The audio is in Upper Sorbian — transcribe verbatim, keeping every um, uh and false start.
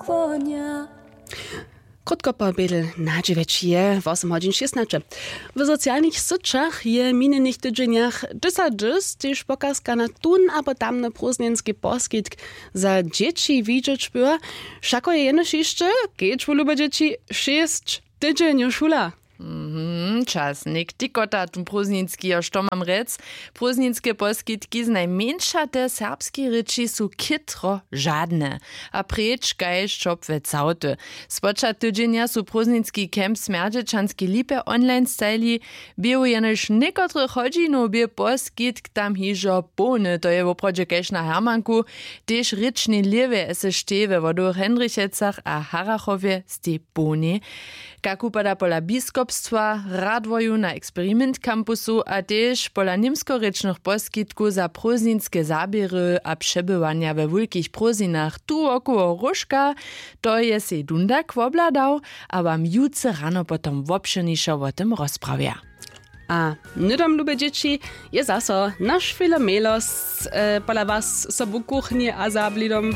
Konia. Krótko po bědl na dźewjeći je wosym hodźin šěstnaće. W socialnych syćach je w minjenych tydźenjach dysat dys tež pokazka na tón abo tamny prózdninski poskitk za dźěći widźeć była. Wšako je jenož hišće, kedź wulube dźěći, šěsć tydźenjow šula. Mhm, čas něk tikota tón prózdninski jo što mam rjec. Prózdninske poskitki znajmjeńša te serbskej rěči su chětro žadne a preč kaž čopłe całty. Spočatk tydźenja su prózdninski camp smjerdźečanskej lipje online stajili. Běhu jenož někotrych hodźinow bě poskitk tam hižo połny, to je woprawdźe kaž na hermanku. Tež rěčnej lěwje sš we wodowych hendrichecach a harachowje stej połnej. Kak wupada pola biskopstwa, radworju na eksperiment campusu a tež pola němskorěčnych poskitkow za prózdninske zaběry a přebywanja we wulkich prózdninach tu wokoło róžka, to je sej dundak wobhladał a wam jutře rano potom wobšěrnišo wo tym rozprawja. A hnydom lube dźěći, je zaso naš filomelos pola was sobu kuchni a za blidom.